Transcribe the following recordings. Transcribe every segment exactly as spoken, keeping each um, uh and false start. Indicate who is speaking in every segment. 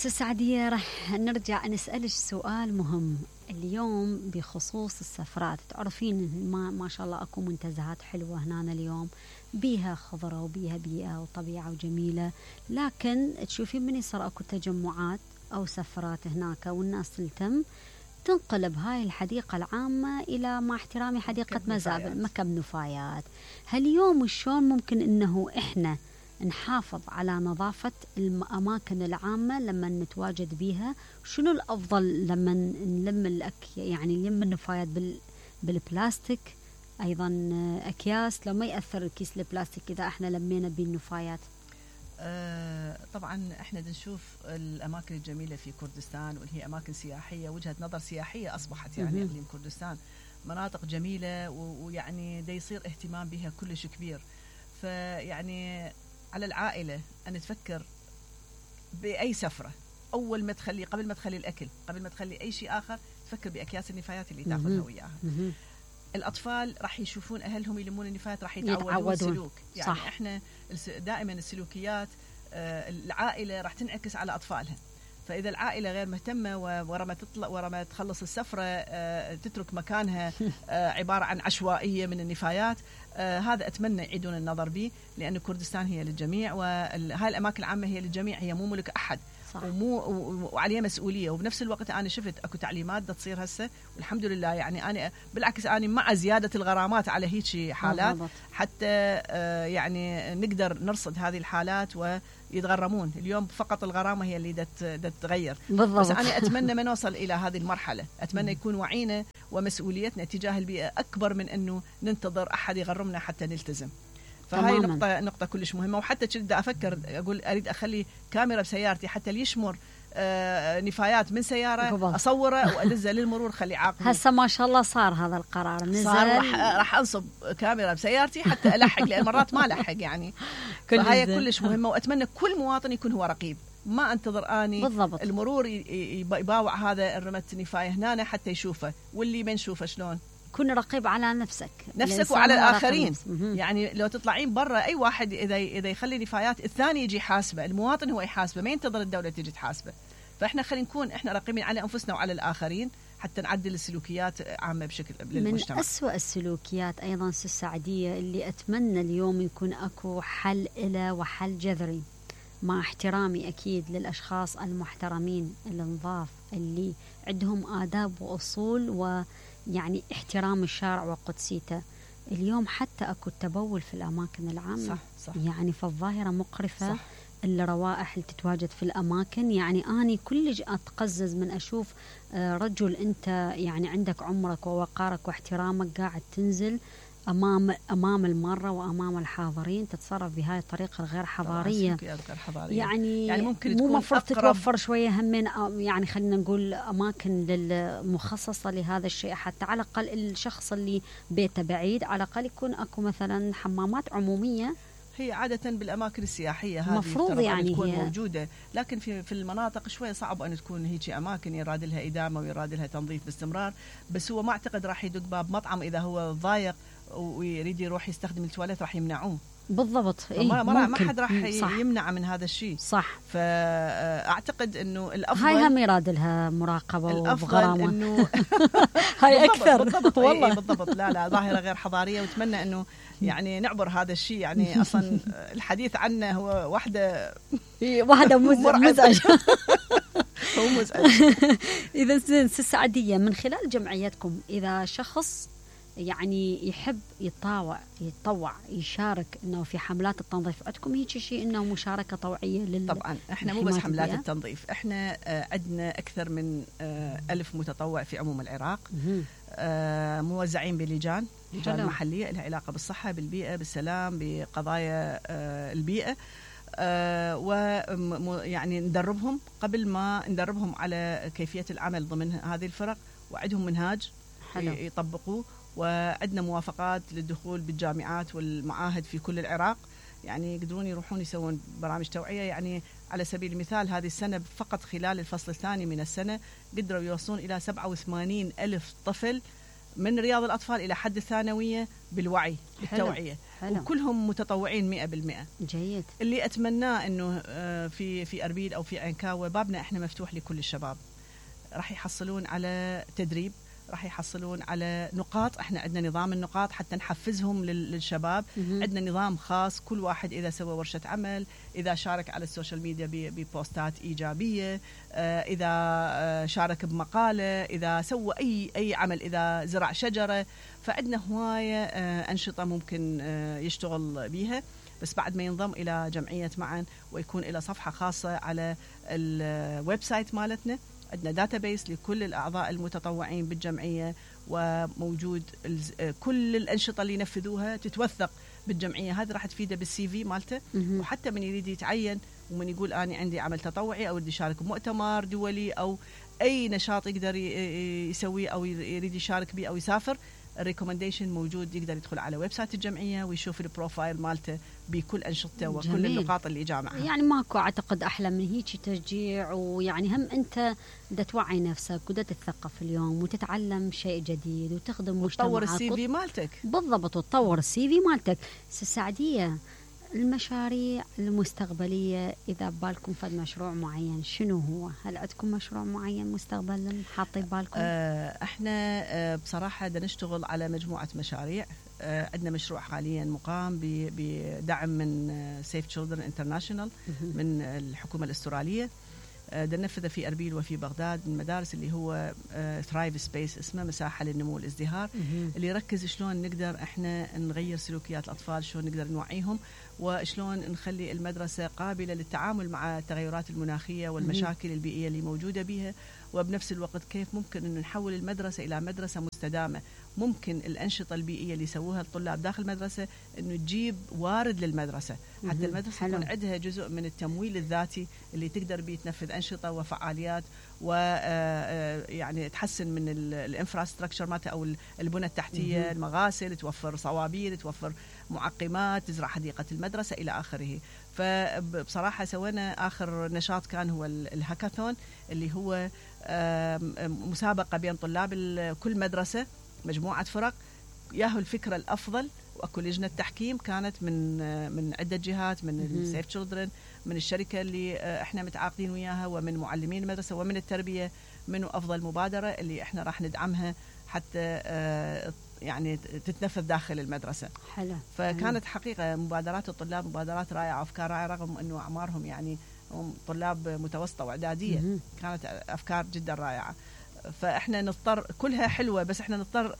Speaker 1: سعدية، راح نرجع نسألك سؤال مهم اليوم بخصوص السفرات. تعرفين ما, ما شاء الله أكو منتزهات حلوة هنا اليوم، بيها خضرة وبيها بيئة وطبيعة وجميلة، لكن تشوفين من يصير أكو تجمعات أو سفرات هناك والناس تلتم تنقلب هاي الحديقة العامة إلى، مع احترامي، حديقة مزابل، مكب نفايات. هاليوم شلون ممكن إنه إحنا نحافظ على نظافة الأماكن العامة لما نتواجد بيها؟ شنو الأفضل لما نلم الأك يعني نلم النفايات بال بالبلاستيك، أيضا أكياس لو ما يأثر الكيس البلاستيك إذا إحنا لمينا بالنفايات؟
Speaker 2: آه طبعا احنا نشوف الاماكن الجميله في كردستان، واللي هي اماكن سياحيه، وجهه نظر سياحيه اصبحت يعني اقليم كردستان مناطق جميله، ويعني دا يصير اهتمام بها كلش كبير. فيعني على العائله ان تفكر باي سفره، اول ما تخلي قبل ما تخلي الاكل، قبل ما تخلي اي شيء اخر، تفكر باكياس النفايات اللي تاخذها وياها. الأطفال راح يشوفون أهلهم يلمون النفايات، راح يتعودون السلوك. يعني صح. إحنا دائما السلوكيات العائلة راح تنعكس على أطفالها. فإذا العائلة غير مهتمة ورا ما تطلع ورا ما تخلص السفرة تترك مكانها عبارة عن عشوائية من النفايات، هذا أتمنى يعيدون النظر به، لأن كردستان هي للجميع، وهاي الأماكن العامة هي للجميع، هي مو ملك أحد. صح. ومو وعليه مسؤوليه. وبنفس الوقت انا شفت اكو تعليمات دا تصير هسه، والحمد لله. يعني انا بالعكس انا مع زياده الغرامات على هيك حالات، حتى آه يعني نقدر نرصد هذه الحالات ويتغرمون. اليوم فقط الغرامه هي اللي دا تتغير. بالضبط. بس انا اتمنى ما نوصل الى هذه المرحله، اتمنى يكون وعينا ومسؤوليتنا تجاه البيئه اكبر من انه ننتظر احد يغرمنا حتى نلتزم. فهاي تماماً. نقطة نقطة كلش مهمة. وحتى كنت أفكر أقول أريد أخلي كاميرا بسيارتي حتى اللي يشمر آه نفايات من سيارة قبل. أصوره وأدزه للمرور خلي عاقبه.
Speaker 1: هسه ما شاء الله صار هذا القرار، نزل
Speaker 2: صار. راح راح أنصب كاميرا بسيارتي حتى ألحق، لأن مرات ما ألحق يعني. فهاي كلش مهمة، وأتمنى كل مواطن يكون هو رقيب، ما انتظر اني بالضبط. المرور يباوع هذا الرمت نفاية هنا حتى يشوفه، واللي ما نشوفه شلون.
Speaker 1: كن رقيب على نفسك
Speaker 2: نفسك وعلى الآخرين. يعني لو تطلعين برا أي واحد إذا إذا يخلي نفايات الثاني يجي حاسبه، المواطن هو يحاسبه، ما ينتظر الدولة تجي تحاسبه. فإحنا خلينا نكون إحنا رقيبين على أنفسنا وعلى الآخرين حتى نعدل السلوكيات عامة بشكل للمجتمع.
Speaker 1: من أسوأ السلوكيات أيضا السعدية اللي أتمنى اليوم يكون أكو حل إله وحل جذري، مع احترامي أكيد للأشخاص المحترمين النظاف اللي عندهم آداب وأصول و يعني احترام الشارع وقدسيته. اليوم حتى أكو التبول في الأماكن العامة. صح صح. يعني فالظاهرة مقرفة. صح. الروائح اللي تتواجد في الأماكن، يعني أني كلش أتقزز من أشوف رجل أنت يعني عندك عمرك ووقارك واحترامك قاعد تنزل أمام أمام المارة وأمام الحاضرين تتصرف بهاي الطريقة الغير حضارية.
Speaker 2: غير حضارية.
Speaker 1: يعني, يعني ممكن مو مفروض تتوفر شوية همين، يعني خلينا نقول أماكن مخصصة لهذا الشيء، حتى على الأقل الشخص اللي بيته بعيد على الأقل يكون أكو مثلا حمامات عمومية.
Speaker 2: هي عادة بالأماكن السياحية هذه
Speaker 1: مفروض يعني
Speaker 2: تكون موجودة، لكن في في المناطق شوية صعب أن تكون هيك أماكن يراد لها إدامة ويراد لها تنظيف باستمرار. بس هو ما أعتقد راح يدق باب مطعم إذا هو ضايق ويريد يروح يستخدم التواليت راح يمنعوه.
Speaker 1: بالضبط.
Speaker 2: إيه ما, ما حد راح يمنع من هذا الشيء.
Speaker 1: صح.
Speaker 2: فأعتقد إنه الأفضل
Speaker 1: هاي هم يراد لها مراقبة وغرامة.
Speaker 2: إنه
Speaker 1: هاي أكثر.
Speaker 2: بالضبط. والله بالضبط. لا لا ظاهرة غير حضارية، واتمنى إنه يعني نعبر هذا الشيء. يعني أصلا الحديث عنه هو واحدة
Speaker 1: واحدة مزعج.
Speaker 2: هو مزعج.
Speaker 1: إذا زين السعدية من خلال جمعيتكم، إذا شخص يعني يحب يتطوع يتطوع يشارك انه في حملات التنظيف عندكم هيك شيء انه مشاركه طوعيه لل
Speaker 2: طبعا احنا مو بس حملات البيئة. التنظيف احنا آه عندنا اكثر من آه ألف متطوع في عموم العراق، آه موزعين بلجان لجان محليه لها علاقه بالصحه بالبيئه بالسلام بقضايا آه البيئه، آه ويعني ندربهم قبل ما ندربهم على كيفيه العمل ضمن هذه الفرق، وعندهم منهاج حلو. يطبقوه، وعندنا موافقات للدخول بالجامعات والمعاهد في كل العراق، يعني يقدرون يروحون يسوون برامج توعية. يعني على سبيل المثال هذه السنة فقط خلال الفصل الثاني من السنة قدروا يوصلون إلى سبعة وثمانين ألف طفل من رياض الأطفال إلى حد الثانوية بالوعي بالتوعية.
Speaker 1: حلو.
Speaker 2: وكلهم متطوعين مئة بالمئة.
Speaker 1: جيد.
Speaker 2: اللي أتمناه أنه في في أربيل أو في عنكاوة بابنا إحنا مفتوح لكل الشباب، راح يحصلون على تدريب، راح يحصلون على نقاط. احنا عندنا نظام النقاط حتى نحفزهم للشباب. عندنا نظام خاص، كل واحد إذا سوى ورشة عمل، إذا شارك على السوشيال ميديا ببوستات إيجابية، إذا شارك بمقالة، إذا سوى أي أي عمل، إذا زرع شجرة، فعندنا هواية أنشطة ممكن يشتغل بيها. بس بعد ما ينضم إلى جمعية معا ويكون إلى صفحة خاصة على الويب سايت مالتنا، عندنا داتابيس لكل الأعضاء المتطوعين بالجمعية، وموجود كل الأنشطة اللي ينفذوها تتوثق بالجمعية. هذا راح تفيده بالسي في مالته، وحتى من يريد يتعين ومن يقول أنا عندي عمل تطوعي أو بدي أشارك بمؤتمر دولي أو أي نشاط يقدر يسويه أو يريد يشارك به أو يسافر، الريكومنديشن موجود، يقدر يدخل على ويب سايت الجمعية ويشوف البروفايل مالته بكل أنشطته وكل جميل. النقاط اللي جامعها.
Speaker 1: يعني ماكو أعتقد أحلى من هيك تشجيع، ويعني هم أنت دا توعي نفسك ودا تتثقف اليوم وتتعلم شيء جديد وتخدم مجتمعك
Speaker 2: وتطور السي في مالتك.
Speaker 1: بالضبط، وتطور السي في مالتك. سعدية، المشاريع المستقبلية إذا بالكم فد مشروع معين شنو هو؟ هل عندكم مشروع معين مستقبلا حاطين بالكم؟
Speaker 2: آه احنا آه بصراحة دا نشتغل على مجموعة مشاريع. آه عندنا مشروع حاليا مقام بدعم من سيف تشيلدرن انترناشونال من الحكومة الأسترالية. دا ننفذه في أربيل وفي بغداد من مدارس اللي هو ثرايف سبيس، اسمه مساحة للنمو والازدهار، اللي يركز شلون نقدر احنا نغير سلوكيات الأطفال، شلون نقدر نوعيهم، وشلون نخلي المدرسة قابلة للتعامل مع التغيرات المناخية والمشاكل البيئية اللي موجودة بها، وبنفس الوقت كيف ممكن أن نحول المدرسة إلى مدرسة مستدامة. ممكن الأنشطة البيئية اللي يسووها الطلاب داخل المدرسة أنه تجيب وارد للمدرسة، حتى المدرسة يكون عندها جزء من التمويل الذاتي اللي تقدر بيه تنفذ أنشطة وفعاليات، ويعني تحسن من الانفراستراكشر مالتها أو البنى التحتية، المغاسل، توفر صوابير، توفر معقمات، تزرع حديقة المدرسة إلى آخره. فبصراحة سوينا آخر نشاط كان هو الهاكاثون، اللي هو مسابقة بين طلاب كل مدرسة، مجموعة فرق، ياهو الفكرة الأفضل، وأكو لجنة تحكيم كانت من من عدة جهات، من السيف تشيلدرن، من الشركة اللي احنا متعاقدين وياها، ومن معلمين المدرسة، ومن التربية، منو أفضل مبادرة اللي احنا راح ندعمها حتى يعني تتنفذ داخل المدرسة.
Speaker 1: حلو.
Speaker 2: فكانت حقيقة مبادرات الطلاب مبادرات رائعة وأفكار رائعة، رغم أنه أعمارهم يعني طلاب متوسطة وإعدادية، كانت أفكار جدا رائعة. فإحنا نضطر، كلها حلوة، بس إحنا نضطر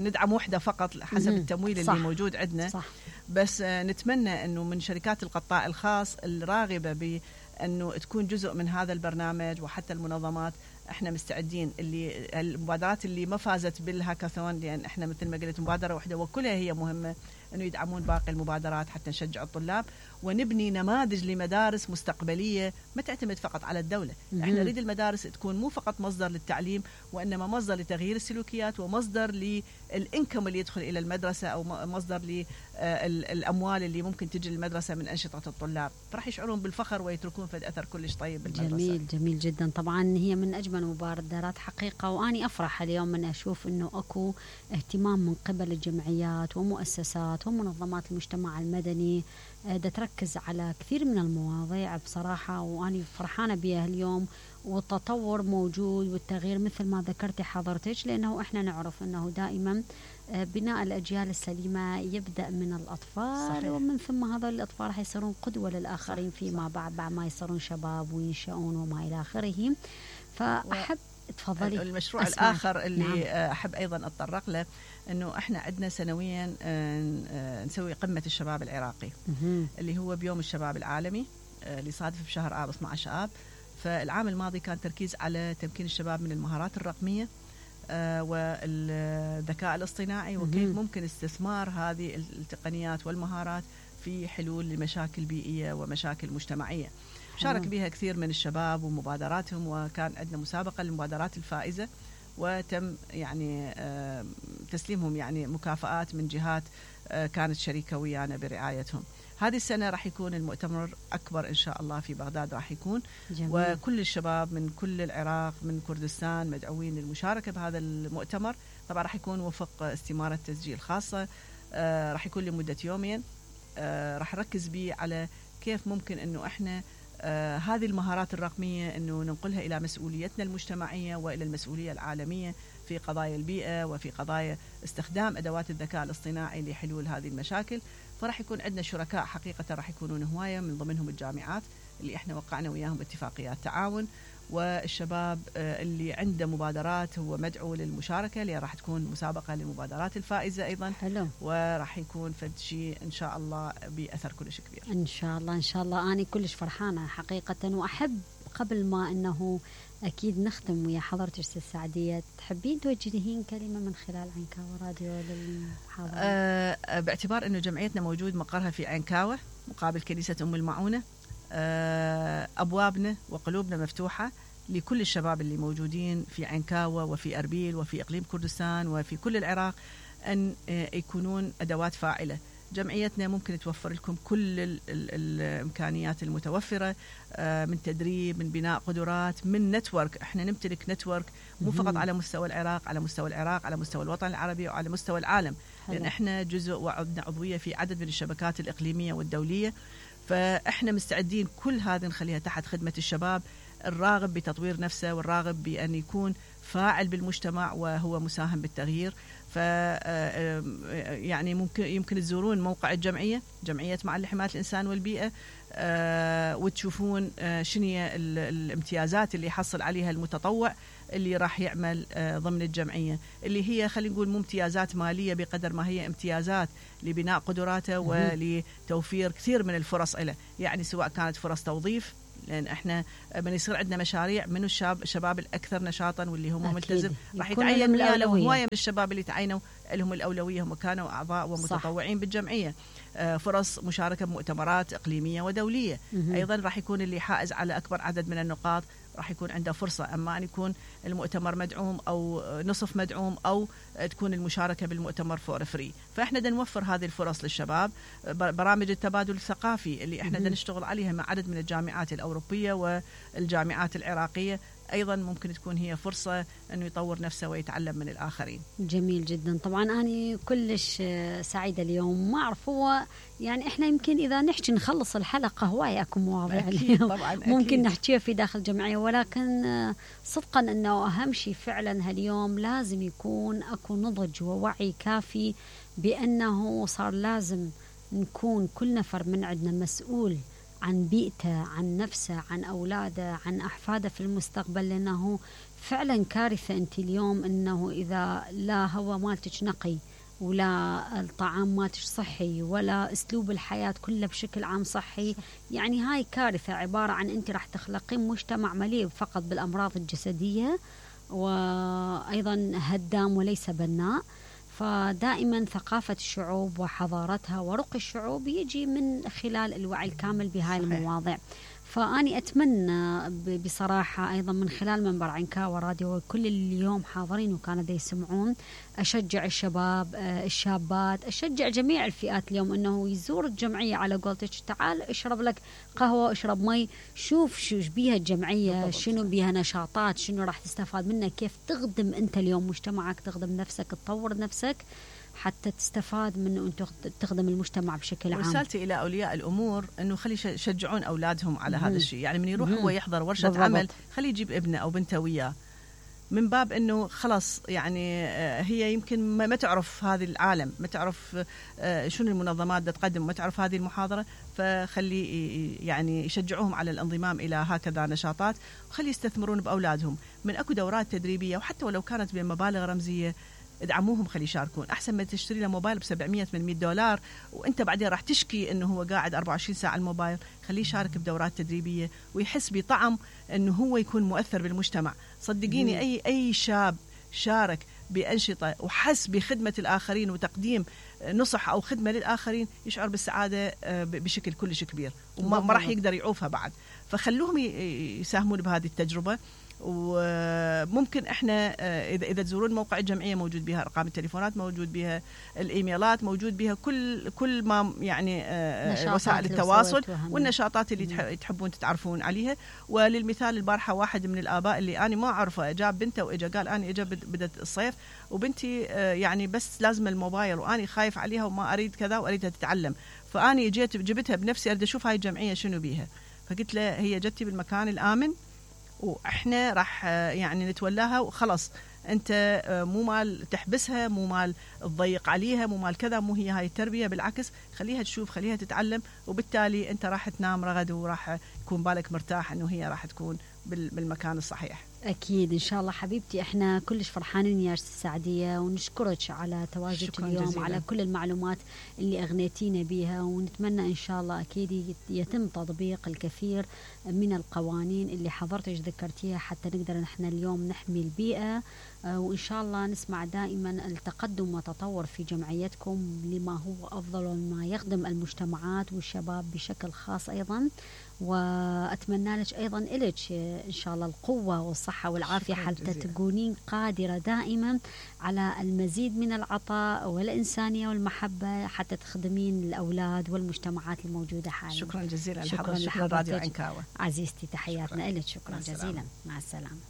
Speaker 2: ندعم وحدة فقط حسب التمويل
Speaker 1: صح.
Speaker 2: اللي موجود عندنا.
Speaker 1: صح.
Speaker 2: بس نتمنى أنه من شركات القطاع الخاص الراغبة بأنه تكون جزء من هذا البرنامج، وحتى المنظمات، احنا مستعدين. اللي المبادرات اللي ما فازت بالهاكاثون، لان احنا مثل ما قلت مبادره واحده وكلها هي مهمه، انه يدعمون باقي المبادرات حتى نشجع الطلاب ونبني نماذج لمدارس مستقبليه ما تعتمد فقط على الدوله. احنا نريد المدارس تكون مو فقط مصدر للتعليم، وانما مصدر لتغيير السلوكيات، ومصدر للانكم اللي يدخل الى المدرسه، او مصدر للاموال اللي ممكن تجي للمدرسه من انشطه الطلاب، فراح يشعرون بالفخر ويتركون في اثر كلش طيب بالمدرسه.
Speaker 1: جميل جميل جدا. طبعا هي من اجمل مبادرات حقيقه، واني افرح اليوم من اشوف انه اكو اهتمام من قبل الجمعيات ومؤسسات ومنظمات المجتمع المدني دا تركز على كثير من المواضيع بصراحه، واني فرحانه بها اليوم. والتطور موجود والتغيير مثل ما ذكرتي حضرتك، لانه احنا نعرف انه دائما بناء الاجيال السليمه يبدا من الاطفال. صحيح. ومن ثم هذول الاطفال راح يصيرون قدوه للاخرين فيما بعد، بعد ما يصيرون شباب وينشؤون وما الى اخره. فاحب تفضلي.
Speaker 2: المشروع أسمع. الآخر اللي نعم. أحب أيضا أتطرق له، أنه إحنا عندنا سنويا نسوي قمة الشباب العراقي، مه. اللي هو بيوم الشباب العالمي اللي صادف بشهر آب اثنا عشر آب. فالعام الماضي كان تركيز على تمكين الشباب من المهارات الرقمية والذكاء الاصطناعي، وكيف ممكن استثمار هذه التقنيات والمهارات في حلول لمشاكل بيئية ومشاكل مجتمعية. شارك بها كثير من الشباب ومبادراتهم، وكان عندنا مسابقة للمبادرات الفائزة، وتم يعني تسليمهم يعني مكافآت من جهات كانت شريكة ويانا برعايتهم. هذه السنة راح يكون المؤتمر أكبر إن شاء الله في بغداد راح يكون.
Speaker 1: جميل.
Speaker 2: وكل الشباب من كل العراق من كردستان مدعوين للمشاركة بهذا المؤتمر. طبعا راح يكون وفق استمارة تسجيل خاصة، آه راح يكون لمدة يومين. آه راح نركز به على كيف ممكن أنه إحنا آه هذه المهارات الرقمية أنه ننقلها إلى مسؤوليتنا المجتمعية وإلى المسؤولية العالمية في قضايا البيئة وفي قضايا استخدام أدوات الذكاء الاصطناعي لحلول هذه المشاكل. فراح يكون عندنا شركاء حقيقة راح يكونون هواية، من ضمنهم الجامعات اللي إحنا وقعنا وياهم اتفاقيات تعاون، والشباب اللي عنده مبادرات هو مدعو للمشاركة، اللي راح تكون مسابقة للمبادرات الفائزة أيضا.
Speaker 1: حلو.
Speaker 2: وراح يكون فد شيء إن شاء الله بأثر كلش كبير.
Speaker 1: إن شاء الله إن شاء الله. أنا كلش فرحانة حقيقة، وأحب قبل ما أنه أكيد نختم ويا حضرتك أستاذ سعدية، تحبين توجهين كلمة من خلال عنكاوة راديو للحاضرين؟
Speaker 2: أه باعتبار أنه جمعيتنا موجود مقرها في عنكاوة مقابل كنيسة أم المعونة، أه أبوابنا وقلوبنا مفتوحة لكل الشباب اللي موجودين في عنكاوة وفي أربيل وفي إقليم كردستان وفي كل العراق أن يكونون أدوات فاعلة. جمعيتنا ممكن توفر لكم كل ال ال الإمكانيات المتوفرة، من تدريب، من بناء قدرات، من نتورك. احنا نمتلك نتورك مو فقط على مستوى العراق، على مستوى العراق، على مستوى الوطن العربي وعلى مستوى العالم. حلو. لأن احنا جزء وعندنا عضوية في عدد من الشبكات الإقليمية والدولية، فاحنا مستعدين كل هذه نخليها تحت خدمة الشباب الراغب بتطوير نفسه والراغب بأن يكون فاعل بالمجتمع وهو مساهم بالتغيير. ف يعني ممكن يمكن تزورون موقع الجمعية، جمعية معا لحماية الإنسان والبيئة، وتشوفون شنو الامتيازات اللي يحصل عليها المتطوع اللي راح يعمل ضمن الجمعية، اللي هي خلينا نقول مو امتيازات مالية بقدر ما هي امتيازات لبناء قدراته ولتوفير كثير من الفرص له. يعني سواء كانت فرص توظيف، لأن إحنا من يصير عندنا مشاريع من الشاب الشباب الأكثر نشاطا واللي هم ملتزم راح يتعين ويانا، وهواية من الشباب اللي تعينوا لهم الأولوية هم كانوا أعضاء ومتطوعين صح. بالجمعية. فرص مشاركة بمؤتمرات إقليمية ودولية. مم. أيضا راح يكون اللي حائز على أكبر عدد من النقاط راح يكون عنده فرصة، أما أن يكون المؤتمر مدعوم أو نصف مدعوم أو تكون المشاركة بالمؤتمر فور فري. فإحنا دا نوفر هذه الفرص للشباب. برامج التبادل الثقافي اللي إحنا دا نشتغل عليها مع عدد من الجامعات الأوروبية والجامعات العراقية أيضا ممكن تكون هي فرصة أنه يطور نفسه ويتعلم من الآخرين.
Speaker 1: جميل جدا. طبعا أنا كلش سعيدة اليوم. ما أعرف هو يعني إحنا يمكن إذا نحكي نخلص الحلقة هواية أكو مواضيع اليوم طبعا ممكن نحكيها في داخل الجمعية، ولكن صدقا أنه أهم شيء فعلا هاليوم لازم يكون أكو نضج ووعي كافي بأنه صار لازم نكون كل نفر من عندنا مسؤول عن بيئته، عن نفسه، عن أولاده، عن أحفاده في المستقبل. لأنه فعلا كارثة أنت اليوم أنه إذا لا هو مالتك نقي ولا الطعام مالتك صحي ولا أسلوب الحياة كله بشكل عام صحي، يعني هاي كارثة عبارة عن أنت راح تخلقين مجتمع مليء فقط بالأمراض الجسدية وأيضا هدام وليس بناء. فدائما ثقافة الشعوب وحضارتها ورقي الشعوب يجي من خلال الوعي الكامل بهاي المواضيع. فأني أتمنى بصراحة أيضا من خلال منبر عنكاوة راديو وكل اليوم حاضرين وكانوا دي يسمعون، أشجع الشباب الشابات، أشجع جميع الفئات اليوم أنه يزور الجمعية على قولتك. تعال اشرب لك قهوة، اشرب مي، شوف شو بيها الجمعية، شنو بيها نشاطات، شنو راح تستفاد منها، كيف تخدم أنت اليوم مجتمعك، تخدم نفسك، تطور نفسك حتى تستفاد منه أنت تخدم المجتمع بشكل عام.
Speaker 2: رسالتي إلى أولياء الأمور أنه خلي يشجعون أولادهم على مم. هذا الشيء. يعني من يروح هو يحضر ورشة بالضبط. عمل خلي يجيب ابنه أو بنته وياه، من باب أنه خلاص يعني هي يمكن ما تعرف هذه العالم، ما تعرف شنو المنظمات دا تقدم، ما تعرف هذه المحاضرة، فخلي يعني يشجعوهم على الانضمام إلى هكذا نشاطات، وخلي يستثمرون بأولادهم من أكو دورات تدريبية، وحتى ولو كانت بمبالغ رمزية ادعموهم خلي يشاركون. أحسن ما تشتري له موبايل بسبعمية ثمانمية دولار وأنت بعدين راح تشكي أنه هو قاعد أربعة وعشرين ساعة على الموبايل. خليه يشارك بدورات تدريبية ويحس بطعم أنه هو يكون مؤثر بالمجتمع. صدقيني أي أي شاب شارك بأنشطة وحس بخدمة الآخرين وتقديم نصح أو خدمة للآخرين يشعر بالسعادة بشكل كلش كبير، وما راح يقدر يعوفها بعد. فخلوهم يساهمون بهذه التجربة. وممكن احنا اذا اذا تزورون موقع الجمعيه موجود بها ارقام التليفونات، موجود بها الايميلات، موجود بها كل كل ما يعني وسائل التواصل والنشاطات اللي تحبون تتعرفون عليها. وللمثال البارحه واحد من الاباء اللي انا ما اعرفه جاب بنته واجا قال انا اجا بدت الصيف وبنتي يعني بس لازم الموبايل واني خايف عليها وما اريد كذا واريدها تتعلم، فاني جيت جبتها بنفسي اريد اشوف هاي الجمعيه شنو بيها. فقلت له هي جتي بالمكان الامن واحنا راح يعني نتولاها وخلاص، انت مو مال تحبسها، مو مال تضيق عليها، مو مال كذا، مو هي هاي التربيه، بالعكس خليها تشوف، خليها تتعلم، وبالتالي انت راح تنام رغد وراح يكون بالك مرتاح انه هي راح تكون بالمكان الصحيح.
Speaker 1: أكيد إن شاء الله حبيبتي، إحنا كلش فرحانين يا السعدية ونشكرك على تواجدك اليوم جزيلا. على كل المعلومات اللي أغنيتينا بها، ونتمنى إن شاء الله أكيد يتم تطبيق الكثير من القوانين اللي حضرتك ذكرتيها حتى نقدر نحن اليوم نحمي البيئة، وإن شاء الله نسمع دائما التقدم والتطور في جمعيتكم لما هو أفضل وما يخدم المجتمعات والشباب بشكل خاص أيضا. وأتمنى لك أيضا إلك إن شاء الله القوة والصحة والعافية حتى تكونين قادرة دائما على المزيد من العطاء والإنسانية والمحبة حتى تخدمين الأولاد والمجتمعات الموجودة حاليا.
Speaker 2: شكرا جزيلا. شكرا لحضرتك راديو عنكاوة
Speaker 1: عزيزتي، تحياتنا لك. شكرا جزيلا، مع السلامة.